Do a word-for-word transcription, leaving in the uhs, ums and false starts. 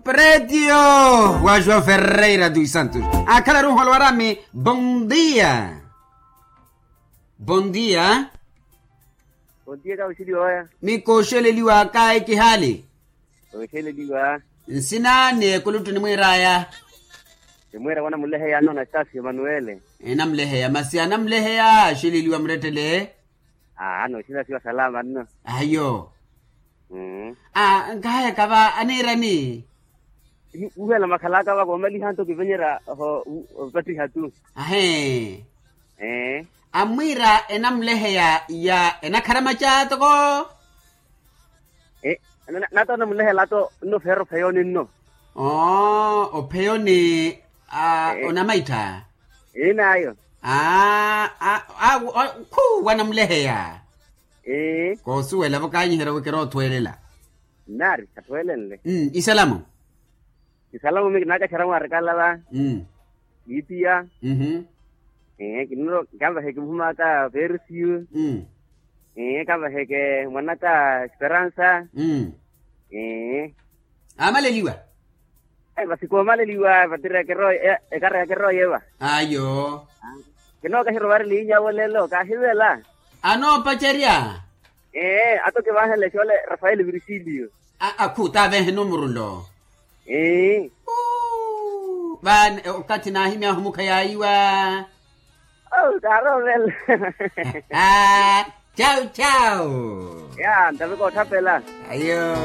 Pretio wa joão ferreira dos santos. Akhala ruholo warami. Bom dia. Bom dia. Bom dia kawisiliwaya. Mikooxeleliwa kayi kihali. Oxeleliwa. Nsina ni ekuluttu nimwiiraya. Nimwiira wanamuleheya anona sitasi emanuele. Enamuleheya masi anamuleheya axeleliwa murettele. Aa ano sitasi wa salama nno. Ayo. Mm. A nkahayaka va aniirani. Uhela makhalaka va koomaliha nto kivenyerya ho. Opattiha tu. Ahe. Ee. Amwiira enamuleheya ya enakharamaca toko. Nata onamuleheya lato nno feera opheyoni nno. Oo opheyoni. Onamaittha. Inaayo. Khu wanamuleheya. Koosuwela vo kaanyiherya wi kiroothweelela. Nnaari khathweelenle. Isalamu. Isalamu mi kinaakaxera mwaarikala va. Kiipiya. Kiniro kanvaheke muhumaka perisiyu. Kanvaheke mwanaka esperansa. Amaleliwa. Vasi koomaleliwa vatiri ekara yakerooye va. Ayo. Kinookaxira ovareli inyavo lelo kaahivela. Anoopacerya. Ee ato kivanhele xole rafael virgilio. Akhu tavehe numuru nlo. Ee. Vani okathi naahimyahu mukha yaayiwa. Kaaromela. Chau chau. Ya ntave koothapela. Ayo.